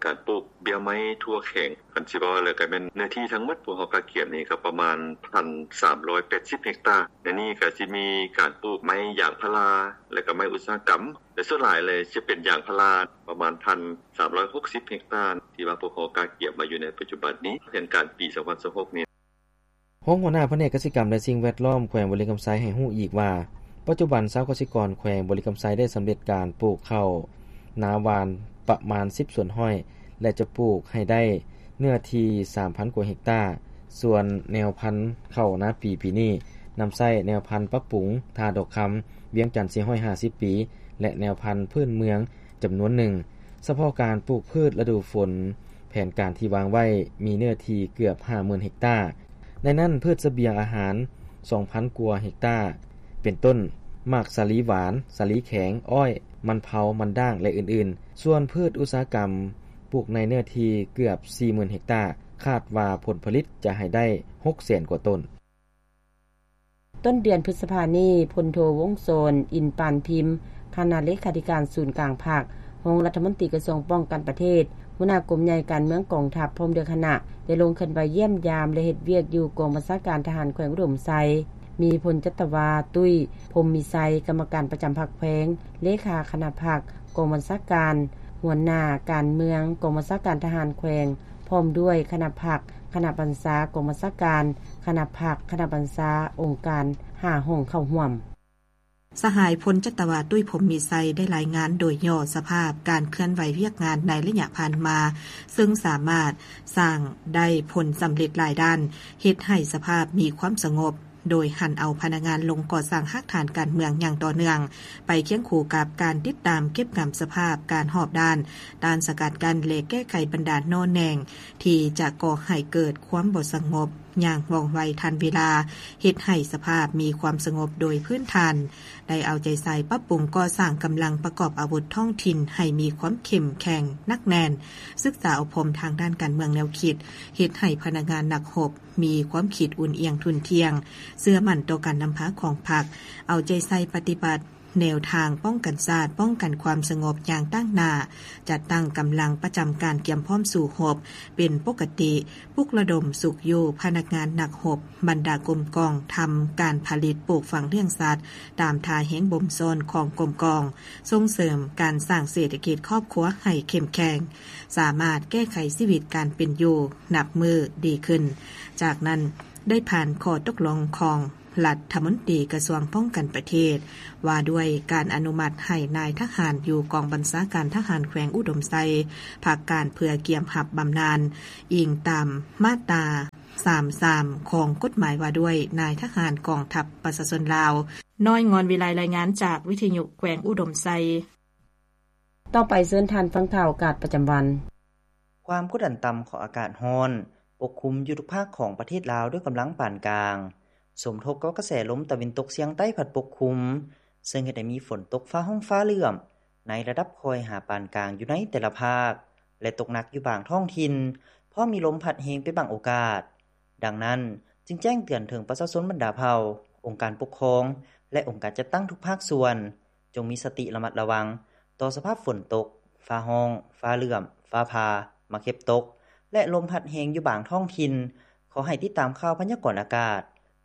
ການປູກເບ້ຍໄມ້ທົ່ວແຂວງ ຄັນຊິເວົ້າແລ້ວກໍແມ່ນເນື້ອທີ່ທັງໝົດພວກເຮົາກະກຽມນີ້ກໍປະມານ ໜຶ່ງພັນສາມຮ້ອຍແປດສິບເຮັກຕາ ໃນນີ້ກໍຊິມີການປູກໄມ້ຢາງພາລາ ແລະກໍໄມ້ອຸດສາຫະກຳ ແລະສ່ວນຫຼາຍເລີຍຈະເປັນຢາງພາລາ ປະມານ ໜຶ່ງພັນສາມຮ້ອຍຫົກສິບເຮັກຕາ ທີ່ວ່າພວກເຮົາກະກຽມໄວ້ຢູ່ໃນປັດຈຸບັນນີ້ ແຜນການປີສອງພັນຊາວຫົກນີ້. ຮອງຫົວໜ້າພະແນກກະສິກຳ ແລະສິ່ງແວດລ້ອມ ແຂວງບໍລິຄຳໄຊ ໃຫ້ຮູ້ອີກວ່າ ປັດຈຸບັນຊາວກະສິກອນແຂວງບໍລິຄຳໄຊ ໄດ້ສຳເລັດການປູກເຂົ້ານາຫວ່ານປະມານ ສິບສ່ວນຮ້ອຍ ແລະຈະປູກໃຫ້ໄດ້ເນື້ອທີ່ ສາມພັນກວ່າເຮັກຕາ ສ່ວນແນວພັນເຂົ້ານາປີ ປີນີ້ນຳໃຊ້ແນວພັນປັບປຸງ ທ່າດອກຄຳ ວຽງຈັນ ສີ່ຮ້ອຍຫ້າສິບປີ ແລະແນວພັນພື້ນເມືອງ ຈຳນວນໜຶ່ງ. ສະເພາະການປູກພືດລະດູຝົນ ແຜນການທີ່ວາງໄວ້ມີເນື້ອທີ່ເກືອບ ຫ້າໝື່ນເຮັກຕາ ໃນນັ້ນພືດສະບຽງອາຫານ ສອງພັນກວ່າເຮັກຕາ ເປັນຕົ້ນ ໝາກສາລີຫວານ, ສາລີແຂງ, ອ້ອຍ, ມັນເຜົາ, ມັນດ້າງ ແລະອື່ນໆ. ສ່ວນພືດອຸດສາຫະກຳ ປູກໃນເນື້ອທີ່ເກືອບ ສີ່ໝື່ນເຮັກຕາ ຄາດວ່າຜົນຜະລິດຈະໃຫ້ໄດ້ ຫົກແສນກວ່າຕົ້ນ. ຕົ້ນເດືອນພຶດສະພານີ້ ພົນໂທ ວົງສອນ ອິນປານພິມ ຄະນະເລຂາທິການສູນກາງພັກ, ຮອງລັດຖະມົນຕີກະຊວງປ້ອງກັນປະເທດ, ຫົວໜ້າກົມໃຫຍ່ການເມືອງກອງທັບ ພ້ອມດ້ວຍຄະນະ ໄດ້ລົງເຄື່ອນໄຫວຢ້ຽມຢາມ ແລະເຮັດວຽກຢູ່ກອງບັນຊາການທະຫານແຂວງອຸດົມໄຊ, ມີພົນຈັດຕະວາ ຕຸ້ຍ ພົມມີໄຊ ກຳມະການປະຈຳພັກແຂວງ, ເລຂາຄະນະພັກກອງບັນຊາການ, ຫົວໜ້າການເມືອງກອງບັນຊາການທະຫານແຂວງ ພ້ອມດ້ວຍຄະນະພັກ, ຄະນະບັນຊາກອງບັນຊາການ, ຄະນະພັກ, ຄະນະບັນຊາອົງການ ຫ້າຫ້ອງເຂົ້າຮ່ວມ. ສະຫາຍ ພົນຈັດຕະວາ ຕຸ້ຍ ພົມມີໄຊ ໄດ້ລາຍງານໂດຍຫຍໍ້ສະພາບການເຄື່ອນໄຫວວຽກງານໃນໄລຍະຜ່ານມາ, ເຊິ່ງສາມາດສ້າງໄດ້ຜົນສຳເລັດຫຼາຍດ້ານ, ເຮັດໃຫ້ສະພາບມີຄວາມສະຫງົບ, ໂດຍຫັນເອົາພະນັກງານລົງກໍ່ສ້າງຮາກຖານການເມືອງຢ່າງຕໍ່ເນື່ອງ, ໄປຄຽງຄູ່ກັບການຕິດຕາມເກັບກຳສະພາບການຮອບດ້ານ, ຕ້ານສະກັດກັ້ນ ແລະ ແກ້ໄຂບັນດາໜໍ່ແໜງ ທີ່ຈະກໍ່ໃຫ້ເກີດຄວາມບໍ່ສະຫງົບຢ່າງວ່ອງໄວທັນເວລາ, ເຮັດໃຫ້ສະພາບມີຄວາມສະຫງົບໂດຍພື້ນຖານ, ໄດ້ເອົາໃຈໃສ່ປັບປຸງກໍ່ສ້າງກຳລັງປະກອບອາວຸດທ້ອງຖິ່ນໃຫ້ມີຄວາມເຂັ້ມແຂງໜັກແໜ້ນ, ສຶກສາອົບຮົມທາງດ້ານການເມືອງແນວຄິດ, ເຮັດໃຫ້ພະນັກງານນັກຮົບມີຄວາມຄິດອຸ່ນອຽງທຸ່ນທ່ຽງ, ເຊື່ອໝັ້ນຕໍ່ການນຳພາຂອງພັກ, ເອົາໃຈໃສ່ປະຕິບັດ ແນວທາງປ້ອງກັນຊາດ, ປ້ອງກັນຄວາມສະຫງົບຢ່າງຕັ້ງໜ້າ, ຈັດຕັ້ງກຳລັງປະຈຳການກຽມພ້ອມສູ້ຮົບເປັນປົກກະຕິ, ປຸກລະດົມຊຸກຍູ້ພະນັກງານນັກຮົບບັນດາກົມກອງ ທຳການຜະລິດປູກຝັງລ້ຽງສັດຕາມທ່າແຮງບົ່ມຊ້ອນຂອງກົມກອງ, ສົ່ງເສີມການສ້າງເສດຖະກິດຄອບຄົວໃຫ້ເຂັ້ມແຂງ, ສາມາດແກ້ໄຂຊີວິດການເປັນຢູ່ນັບມື້ດີຂຶ້ນ. ຈາກນັ້ນໄດ້ຜ່ານຂໍ້ຕົກລົງຂອງ ລັດຖະມົນຕີກະຊວງປ້ອງກັນປະເທດ ວ່າດ້ວຍການອະນຸມັດໃຫ້ນາຍທະຫານຢູ່ກອງບັນຊາການທະຫານແຂວງອຸດົມໄຊ ພັກການເພື່ອກຽມຮັບບຳນານ, ອີງຕາມມາດຕາ ສາມສາມ ຂອງກົດໝາຍວ່າດ້ວຍນາຍທະຫານກອງທັບປະຊາຊົນລາວ. ນ້ອຍ ງອນວິໄລ ລາຍງານຈາກວິທະຍຸແຂວງອຸດົມໄຊ. ຕໍ່ໄປເຊີນທ່ານຟັງຂ່າວອາກາດປະຈຳວັນ. ຄວາມກົດດັນຕ່ຳຂອງອາກາດຮ້ອນປົກຄຸມຢູ່ທຸກພາກຂອງປະເທດລາວດ້ວຍກຳລັງປານກາງ, ສົມທົບກັບກະແສລົມຕາເວັນຕົກສຽງໃຕ້ພັດປົກຄຸມ, ເຊິ່ງເຮັດໃຫ້ມີຝົນຕົກຟ້າຮ້ອງຟ້າເຫຼື້ອມໃນລະດັບຄ່ອຍຫາປານກາງຢູ່ໃນແຕ່ລະພາກ ແລະ ຕົກໜັກຢູ່ບາງທ້ອງຖິ່ນ, ພ້ອມມີລົມພັດແຮງເປັນບາງໂອກາດ. ດັ່ງນັ້ນ, ຈຶ່ງແຈ້ງເຕືອນເຖິງປະຊາຊົນບັນດາເຜົ່າ, ອົງການປົກຄອງ ແລະ ອົງການຈັດຕັ້ງທຸກພາກສ່ວນ, ຈົ່ງມີສະຕິລະມັດລະວັງຕໍ່ສະພາບຝົນຕົກ, ຟ້າຮ້ອງ, ຟ້າເຫຼື້ອມ, ຟ້າຜ່າ, ໝາກເຫັບຕົກ ແລະ ລົມພັດແຮງຢູ່ບາງທ້ອງຖິ່ນ. ຂໍໃຫ້ຕິດຕາມຂ່າວພະຍາກອນອາກາດ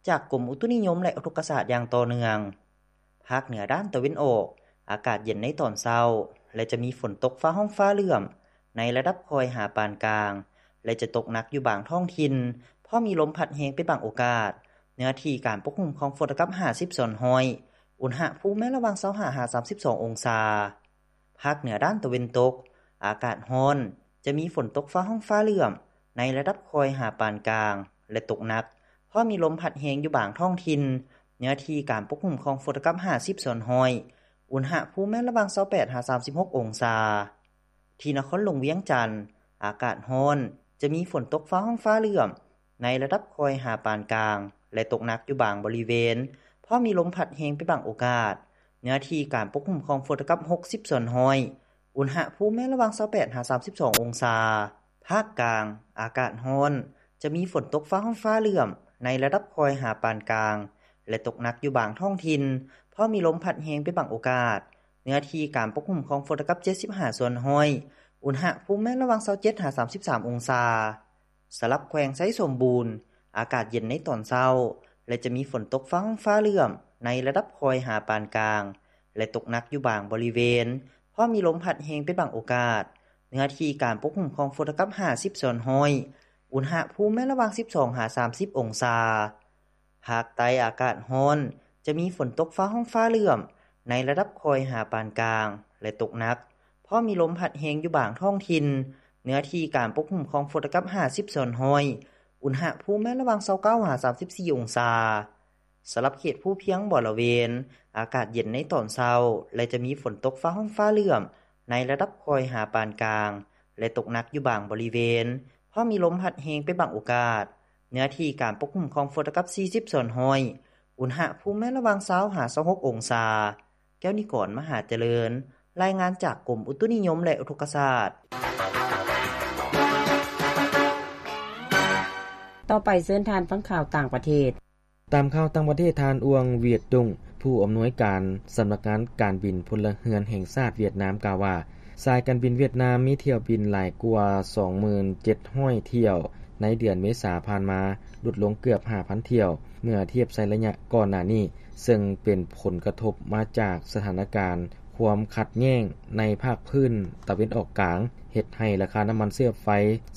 ຈາກກົມອຸຕຸນິຍົມ ແລະ ອຸທົກກະສາດຢ່າງຕໍ່ເນື່ອງ. ພາກເໜືອດ້ານຕາເວັນອອກ, ອາກາດເຢັນໃນຕອນເຊົ້າ ແລະ ຈະມີຝົນຕົກຟ້າຮ້ອງຟ້າເຫຼື້ອມໃນລະດັບຄ່ອຍຫາປານກາງ ແລະ ຈະຕົກໜັກຢູ່ບາງທ້ອງຖິ່ນ, ພ້ອມມີລົມພັດແຮງເປັນບາງໂອກາດ. ເນື້ອທີ່ການປົກຄຸມຂອງຝົນເທົ່າກັບຫ້າສິບສ່ວນຮ້ອຍ, ອຸນຫະພູມແມ່ນລະຫວ່າງຊາວຫ້າຫາສາມສິບສອງອົງສາ. ພາກເໜືອດ້ານຕາເວັນຕົກ, ອາກາດຮ້ອນ, ຈະມີຝົນຕົກຟ້າຮ້ອງຟ້າເຫຼື້ອມໃນລະດັບຄ່ອຍຫາປານກາງ ແລະ ຕົກໜັກ, ພ້ອມມີລົມພັດແຮງຢູ່ບາງທ້ອງຖິ່ນ. ເນື້ອທີ່ການປົກຄຸມຂອງຝົນເທົ່າກັບຫ້າສິບສ່ວນຮ້ອຍ, ອຸນຫະພູມແມ່ນລະຫວ່າງຊາວແປດຫາສາມສິບຫົກອົງສາ. ທີ່ນະຄອນຫຼວງວຽງຈັນ, ອາກາດຮ້ອນ, ຈະມີຝົນຕົກຟ້າຮ້ອງຟ້າເຫຼື້ອມໃນລະດັບຄ່ອຍຫາປານກາງ ແລະ ຕົກໜັກຢູ່ບາງບໍລິເວນ, ພ້ອມມີລົມພັດແຮງເປັນບາງໂອກາດ. ເນື້ອທີ່ການປົກຄຸມຂອງຝົນເທົ່າກັບຫົກສິບສ່ວນຮ້ອຍ, ອຸນຫະພູມແມ່ນລະຫວ່າງຊາວແປດຫາສາມສິບສອງອົງສາ. ພາກກາງ ອາກາດຮ້ອນ, ຈະມີຝົນຕົກຟ້າຮ້ອງຟ້າເຫຼື້ອມໃນລະດັບຄ່ອຍຫາປານກາງ ແລະ ຕົກໜັກຢູ່ບາງທ້ອງຖິ່ນ, ພ້ອມມີລົມພັດແຮງເປັນບາງໂອກາດ. ເນື້ອທີ່ການປົກຄຸມຂອງຝົນລະດັບເຈັດສິບຫ້າສ່ວນຮ້ອຍ. ອຸນຫະພູມແມ່ນລະຫວ່າງຊາວເຈັດຫາສາມສິບສາມອົງສາ. ສຳລັບແຂວງໄຊສົມບູນ, ອາກາດເຢັນໃນຕອນເຊົ້າ ແລະ ຈະມີຝົນຕົກຟ້າຮ້ອງຟ້າເຫຼື້ອມໃນລະດັບຄ່ອຍຫາປານກາງ ແລະ ຕົກໜັກຢູ່ບາງບໍລິເວນ, ພ້ອມມີລົມພັດແຮງເປັນບາງໂອກາດ. ເນື້ອທີ່ການປົກຄຸມຂອງຝົນລະດັບຫ້າສິບສ່ວນຮ້ອຍ. ອຸນຫະພູມແມ່ນລະຫວ່າງສິບສອງຫາສາມສິບອົງສາ. ພາກໃຕ້ອາກາດຮ້ອນ, ຈະມີຝົນຕົກຟ້າຮ້ອງຟ້າເຫຼື້ອມໃນລະດັບຄ່ອຍຫາປານກາງ ແລະ ຕົກໜັກ, ພ້ອມມີລົມພັດແຮງຢູ່ບາງທ້ອງຖິ່ນ. ເນື້ອທີ່ການປົກຄຸມຂອງຝົນລະດັບຫ້າສິບສ່ວນຮ້ອຍ. ອຸນຫະພູມແມ່ນລະຫວ່າງຊາວເກົ້າຫາສາມສິບສີ່ອົງສາ. ສຳລັບເຂດພູພຽງບໍລະເວນ, ອາກາດເຢັນໃນຕອນເຊົ້າ ແລະ ຈະມີຝົນຕົກຟ້າຮ້ອງຟ້າເຫຼື້ອມໃນລະດັບຄ່ອຍຫາປານກາງ ແລະ ຕົກໜັກຢູ່ບາງບໍລິເວນ, ພ້ອມມີລົມພັດແຮງເປັນບາງໂອກາດ. ເນື້ອທີ່ການປົກຄຸມຂອງຝົນລະດັບສີ່ສິບສ່ວນຮ້ອຍ. ອຸນຫະພູມແມ່ນລະຫວ່າງຊາວຫາຊາວຫົກອົງສາ. ແກ້ວນິກອນ ມະຫາຈະເລີນ, ລາຍງານຈາກກົມອຸຕຸນິຍົມ ແລະ ອຸທົກກະສາດ. ຕໍ່ໄປເຊີນທ່ານຟັງຂ່າວຕ່າງປະເທດ. ຕາມຂ່າວຕ່າງປະເທດ, ທ່ານ ອວງ ຫວຽດຕຸງ ຜູ້ອຳນວຍການສຳນັກງານການບິນພົນລະເຮືອນແຫ່ງຊາດຫວຽດນາມ ກ່າວວ່າ ສາຍການບິນຫວຽດນາມມີຖ້ຽວບິນຫຼາຍກວ່າສອງໝື່ນເຈັດຮ້ອຍຖ້ຽວໃນເດືອນເມສາຜ່ານມາ, ຫຼຸດລົງເກືອບຫ້າພັນຖ້ຽວ ເມື່ອທຽບໃສ່ໄລຍະກ່ອນໜ້ານີ້, ເຊິ່ງເປັນຜົນກະທົບມາຈາກສະຖານະການຄວາມຂັດແຍ່ງໃນພາກພື້ນຕາເວັນອອກກາງ, ເຮັດໃຫ້ລາຄານ້ຳມັນເຊື້ອໄຟ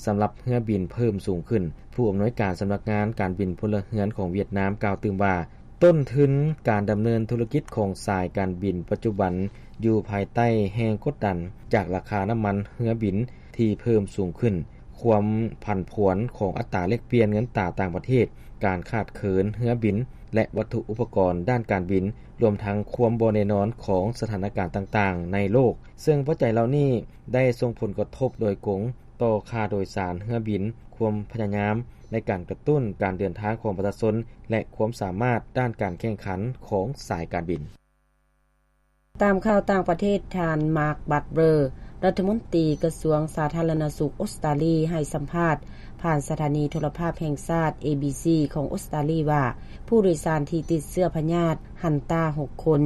ສຳລັບເຮືອບິນເພີ່ມສູງຂຶ້ນ. ຜູ້ອຳນວຍການສຳນັກງານການບິນພົນລະເຮືອນຂອງຫວຽດນາມ ກ່າວຕື່ມວ່າ ຕົ້ນທຶນການດຳເນີນທຸລະກິດຂອງສາຍການບິນປັດຈຸບັນຢູ່ພາຍໃຕ້ແຮງກົດດັນຈາກລາຄານ້ຳມັນເຮືອບິນທີ່ເພີ່ມສູງຂຶ້ນ, ຄວາມຜັນຜວນຂອງອັດຕາແລກປ່ຽນເງິນຕາຕ່າງປະເທດ, ການຂາດເຂີນເຮືອບິນ ແລະ ວັດຖຸອຸປະກອນດ້ານການບິນ, ລວມທັງຄວາມບໍ່ແນ່ນອນຂອງສະຖານະການຕ່າງໆໃນໂລກ, ເຊິ່ງປັດໄຈເຫຼົ່ານີ້ໄດ້ສົ່ງຜົນກະທົບໂດຍກົງຕໍ່ຄ່າໂດຍສານເຮືອບິນ, ຄວາມພະຍາຍາມໃນການກະຕຸ້ນການເດີນທາງຂອງປະຊາຊົນ ແລະ ຄວາມສາມາດດ້ານການແຂ່ງຂັນຂອງສາຍການບິນ. ຕາມຂ່າວຕ່າງປະເທດ, ທ່ານ ມາກ ບັດເບີ ລັດຖະມົນຕີກະຊວງສາທາລະນະສຸກອົດສະຕາລີ ໃຫ້ສຳພາດຜ່ານສະຖານີໂທລະພາບແຫ່ງຊາດ ເອບີຊີ ຂອງອົດສະຕາລີວ່າ ຜູ້ໂດຍສານທີ່ຕິດເຊື້ອພະຍາດຮັນຕາຫົກຄົນ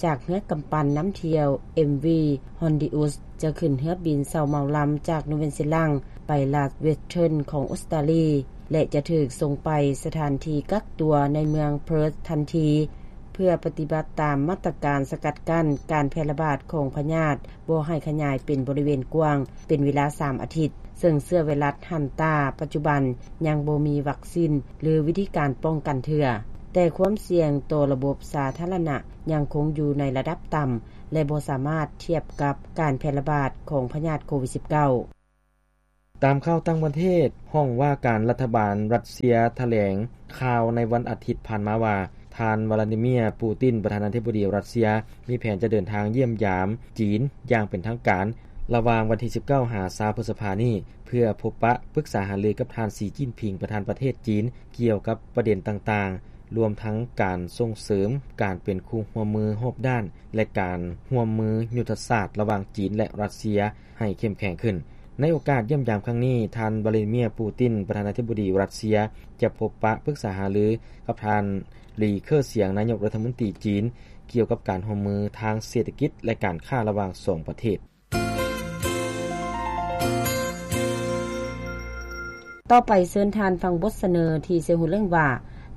ຈາກເຮືອກຳປັ່ນນຳທ່ຽວ ເອັມວີ ຮອນດີອຸສ ຈະຂຶ້ນເຮືອບິນເຊົ່າເໝົາລຳຈາກນູເວັນຊີລັງໄປລາດເວັສເທີນຂອງອົດສະຕາລີ ແລະ ຈະຖືກສົ່ງໄປສະຖານທີ່ກັກຕົວໃນເມືອງເພີດທັນທີ ເພື່ອປະຕິບັດຕາມມາດຕະການສະກັດກັ້ນການແຜ່ລະບາດຂອງພະຍາດບໍ່ໃຫ້ຂະຫຍາຍເປັນບໍລິເວນກວ້າງ ເປັນເວລາສາມອາທິດ, ເຊິ່ງເຊື້ອໄວຣັສຮັນຕາປັດຈຸບັນຍັງບໍ່ມີວັກຊິນ ຫຼື ວິທີການປ້ອງກັນເທື່ອ, ແຕ່ຄວາມສ່ຽງຕໍ່ລະບົບສາທາລະນະຍັງຄົງຢູ່ໃນລະດັບຕ່ຳ ແລະ ບໍ່ສາມາດທຽບກັບການແຜ່ລະບາດຂອງພະຍາດໂຄວິດສິບເກົ້າ. ຕາມຂ່າວຕ່າງປະເທດ, ຫ້ອງວ່າການລັດຖະບານຣັດເຊຍຖະແຫຼງຂ່າວໃນວັນອາທິດຜ່ານມາວ່າ ທ່ານ ວລາດີເມຍ ປູຕິນ ປະທານາທິບໍດີຣັດເຊຍ ມີແຜນຈະເດີນທາງຢ້ຽມຢາມຈີນຢ່າງເປັນທາງການ ລະຫວ່າງວັນທີສິບເກົ້າຫາຊາວ ພຶດສະພານີ້ ເພື່ອພົບປະປຶກສາຫາລືກັບທ່ານ ສີ ຈິ້ນຜິງ ປະທານປະເທດຈີນ ກ່ຽວກັບປະເດັນຕ່າງໆ ລວມທັງການສົ່ງເສີມການເປັນຄູ່ຮ່ວມມືຮອບດ້ານ ແລະ ການຮ່ວມມືຍຸດທະສາດລະຫວ່າງຈີນ ແລະ ຣັດເຊຍ ໃຫ້ເຂັ້ມແຂງຂຶ້ນ. ໃນໂອກາດຢ້ຽມຢາມຄັ້ງນີ້, ທ່ານ ວລາດີເມຍ ປູຕິນ ປະທານາທິບໍດີຣັດເຊຍ ຈະພົບປະປຶກສາຫາລືກັບທ່ານ ລີ ເຄີສຽງ ນາຍົກລັດຖະມົນຕີຈີນ ກ່ຽວກັບການຮ່ວມມືທາງເສດຖະກິດ ແລະ ການຄ້າລະຫວ່າງສອງປະເທດ. ຕໍ່ໄປເຊີນທ່ານຟັງບົດສະເໜີທີ່ໃສ່ຫົວເລື່ອງວ່າ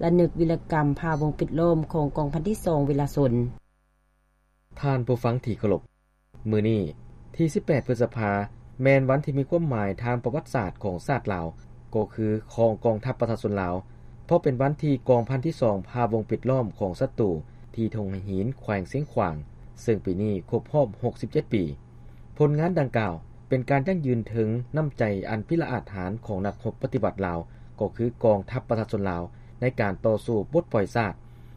ລະນຶກວິລະກຳຜ່າວົງປິດລ້ອມຂອງກອງພັນທີສອງເວລາຊົນ. ທ່ານຜູ້ຟັງທີ່ເຄົາລົບ, ມື້ນີ້ທີສິບແປດ ພຶດສະພາ ແມ່ນວັນທີ່ມີຄວາມໝາຍທາງປະຫວັດສາດຂອງຊາດລາວ, ກໍຄືຂອງກອງທັບປະຊາຊົນລາວ, ເພາະເປັນວັນທີ່ກອງພັນທີສອງຜ່າວົງປິດລ້ອມຂອງສັດຕູທີ່ທົ່ງໄຫຫີນ ແຂວງຊຽງຂວາງ, ເຊິ່ງປີນີ້ຄົບຮອບຫົກສິບເຈັດປີ. ຜົນງານດັ່ງກ່າວເປັນການຢັ້ງຢືນເຖິງນ້ຳໃຈອັນພິລະອາດຫານຂອງນັກຮົບປະຕິວັດລາວ, ກໍຄືກອງທັບປະຊາຊົນລາວ ໃນການຕໍ່ສູ້ປົດປ່ອຍຊາດ,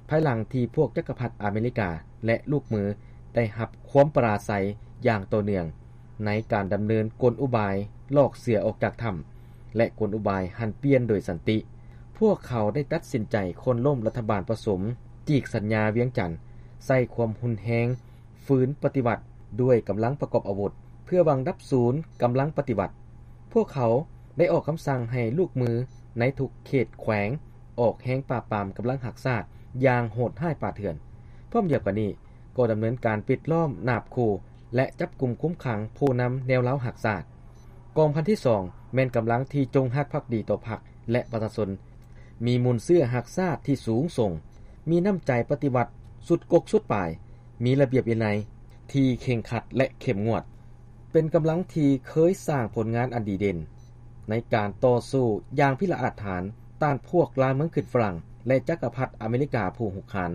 ພາຍຫຼັງທີ່ພວກຈັກກະພັດອາເມລິກາ ແລະ ລູກມືໄດ້ຮັບຄວາມປະລາໄຊຢ່າງຕໍ່ເນື່ອງ ໃນການດຳເນີນກົນອຸບາຍຫຼອກເສືອອອກຈາກຖ້ຳ ແລະ ກົນອຸບາຍຫັນປ່ຽນໂດຍສັນຕິ. ພວກເຂົາໄດ້ຕັດສິນໃຈໂຄ່ນລົ້ມລັດຖະບານປະສົມ ຈີກສັນຍາວຽງຈັນ, ໃຊ້ຄວາມຮຸນແຮງ ຝືນປະຕິວັດດ້ວຍກຳລັງປະກອບອາວຸດ, ເພື່ອຫວັງດັບສູນກຳລັງປະຕິວັດ. ພວກເຂົາໄດ້ອອກຄຳສັ່ງໃຫ້ລູກມືໃນທຸກເຂດແຂວງ ອອກແຮງປາບປາມກຳລັງຮັກຊາດຢ່າງໂຫດຮ້າຍປ່າເຖື່ອນ. ພ້ອມດຽວກັນນີ້ ກໍດຳເນີນການປິດລ້ອມນາບຂູ່ ແລະ ຈັບກຸມຄຸມຂັງຜູ້ນຳແນວລາວຮັກຊາດ. ກອງພັນທີສອງ ແມ່ນກຳລັງທີ່ຈົງຮັກພັກດີຕໍ່ພັກ ແລະ ປະຊາຊົນ, ມີມູນເຊື້ອຮັກຊາດທີ່ສູງສົ່ງ, ມີນ້ຳໃຈປະຕິວັດສຸດກົກສຸດປາຍ, ມີລະບຽບວິໄນທີ່ເຄັ່ງຄັດ ແລະ ເຂັ້ມງວດ, ເປັນກຳລັງທີ່ເຄີຍສ້າງຜົນງານອັນດີເດັ່ນໃນການຕໍ່ສູ້ຢ່າງພິລະອາດຫານຕ້ານພວກລ່າເມືອງຂຶ້ນຝຣັ່ງ ແລະ ຈັກກະພັດອາເມລິກາຜູ້ຮຸກຮານ.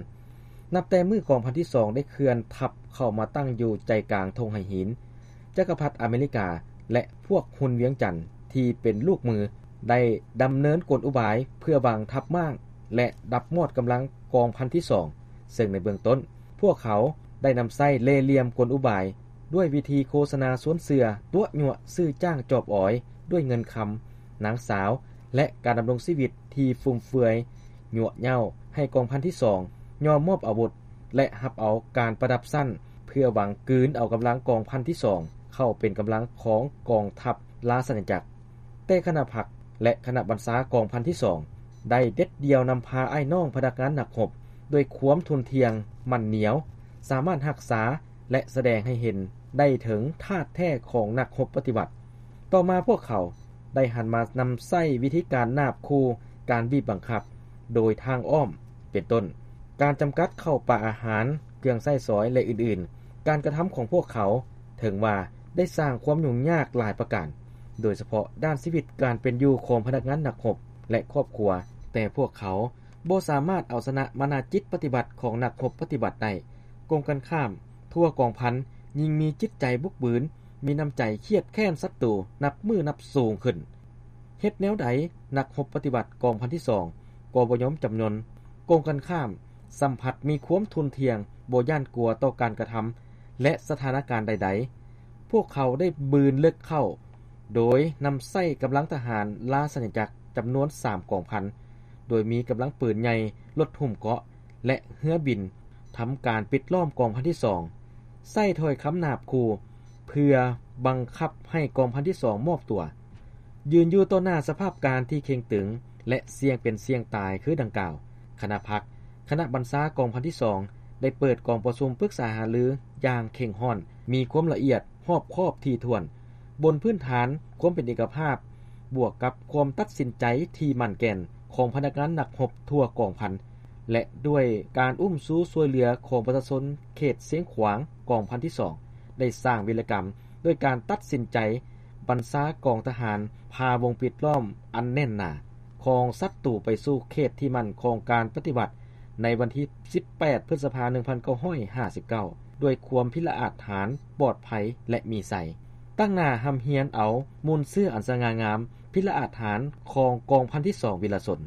ນັບແຕ່ມື້ກອງພັນທີສອງໄດ້ເຄື່ອນທັບເຂົ້າມາຕັ້ງຢູ່ໃຈກາງທົ່ງໄຫຫີນ, ຈັກກະພັດອາເມລິກາ ແລະ ພວກຮຸນວຽງຈັນທີ່ເປັນລູກມື ໄດ້ດຳເນີນກົນອຸບາຍເພື່ອວາງທັບມ້າງ ແລະ ດັບມອດກຳລັງກອງພັນທີສອງ ເຊິ່ງໃນເບື້ອງຕົ້ນ ພວກເຂົາໄດ້ນຳໃຊ້ເລ່ຫຼ່ຽມກົນອຸບາຍ ດ້ວຍວິທີໂຄສະນາຊວນເຊື່ອ, ຕົວະຍົວະຊື້ຈ້າງຈອບອອຍດ້ວຍເງິນຄຳ, ນາງສາວ ແລະ ການດຳລົງຊີວິດທີ່ຟຸມເຟືອຍ, ຍົວະເຍົ້າໃຫ້ກອງພັນທີສອງຍອມມອບອາວຸດ ແລະ ຮັບເອົາການປະດັບຊັ້ນ ເພື່ອຫວັງກືນເອົາກຳລັງກອງພັນທີສອງເຂົ້າເປັນກຳລັງຂອງກອງທັບລາຊະອານາຈັກ. ແຕ່ຄະນະພັກ ແລະ ຄະນະບັນຊາກອງພັນທີສອງ ໄດ້ເດັດດ່ຽວນຳພາອ້າຍນ້ອງພະນັກງານນັກຮົບ ດ້ວຍຄວາມທຸ່ນທ່ຽງໝັ້ນໜຽວ, ສາມາດຮັກສາ ແລະ ສະແດງໃຫ້ເຫັນໄດ້ເຖິງທາດແທ້ຂອງນັກຮົບປະຕິວັດ. ຕໍ່ມາພວກເຂົາໄດ້ຫັນມານຳໃຊ້ວິທີການນາບຂູ່, ການບີບບັງຄັບໂດຍທາງອ້ອມ ເປັນຕົ້ນ ການຈຳກັດເຂົ້າປາອາຫານ, ເຄື່ອງໃຊ້ສອຍ ແລະ ອື່ນໆ. ການກະທຳຂອງພວກເຂົາ ເຖິງວ່າໄດ້ສ້າງຄວາມຫຍຸ້ງຍາກຫຼາຍປະການ, ໂດຍສະເພາະດ້ານຊີວິດການເປັນຢູ່ຂອງພະນັກງານນັກຮົບ ແລະ ຄອບຄົວ, ແຕ່ພວກເຂົາບໍ່ສາມາດເອົາຊະນະມານາຈິດປະຕິວັດຂອງນັກຮົບປະຕິວັດໄດ້. ກົງກັນຂ້າມ, ທົ່ວກອງພັນຍິ່ງມີຈິດໃຈບຸກບືນ, ມີນ້ຳໃຈຄຽດແຄ້ນສັດຕູນັບມື້ນັບສູງຂຶ້ນ. ເຮັດແນວໃດນັກຮົບປະຕິວັດກອງພັນທີສອງກໍບໍ່ຍອມຈຳນົນ, ກົງກັນຂ້າມ, ສ່ຳພັດມີຄວາມທຸ່ນທ່ຽງ, ບໍ່ຢ້ານກົວຕໍ່ການກະທຳ ແລະ ສະຖານະການໃດໆ. ພວກເຂົາໄດ້ບືນເລິກເຂົ້າ ໂດຍນຳໃຊ້ກຳລັງທະຫານລາຊະອານາຈັກຈຳນວນສາມກອງພັນ, ໂດຍມີກຳລັງປືນໃຫຍ່, ລົດຫຸ້ມເກາະ ແລະ ເຮືອບິນ ທຳການປິດລ້ອມກອງພັນທີສອງ, ໃຊ້ຖ້ອຍຄຳນາບຂູ່ ເພື່ອບັງຄັບໃຫ້ກອງພັນທີສອງມອບຕົວ. ຢືນຢູ່ຕໍ່ໜ້າສະພາບການທີ່ເຄັ່ງຕຶງ ແລະ ສ່ຽງເປັນສ່ຽງຕາຍຄືດັ່ງກ່າວ, ຄະນະພັກ, ຄະນະບັນຊາກອງພັນທີສອງ ໄດ້ເປີດກອງປະຊຸມປຶກສາຫາລືຢ່າງເຄັ່ງຮ້ອນ, ມີຄວາມລະອຽດຮອບຄອບຖີ່ຖ້ວນ, ບົນພື້ນຖານຄວາມເປັນເອກະພາບ ບວກກັບຄວາມຕັດສິນໃຈທີ່ໝັ້ນແກ່ນຂອງພະນັກງານນັກຮົບທົ່ວກອງພັນ ແລະ ດ້ວຍການອຸ້ມຊູຊ່ວຍເຫຼືອຂອງປະຊາຊົນເຂດຊຽງຂວາງ, ກອງພັນທີສອງ ໄດ້ສ້າງວິລະກຳດ້ວຍການຕັດສິນໃຈບັນຊາກອງທະຫານ ພາວົງປິດລ້ອມອັນແໜ້ນໜາຂອງສັດຕູໄປສູ່ເຂດທີ່ໝັ້ນຂອງການປະຕິວັດ ໃນວັນທີສິບແປດ ພຶດສະພາ ໜຶ່ງພັນເກົ້າຮ້ອຍຫ້າສິບເກົ້າ ດ້ວຍຄວາມພິລະອາດຫານ, ປອດໄພ ແລະ ມີໄຊ. ຕັ້ງໜ້າຮ່ຳຮຽນເອົາມູນເຊື້ອອັນສະຫງ່າງາມ, ພິລະອາດຫານຂອງກອງພັນທີສອງວິລະຊົນ.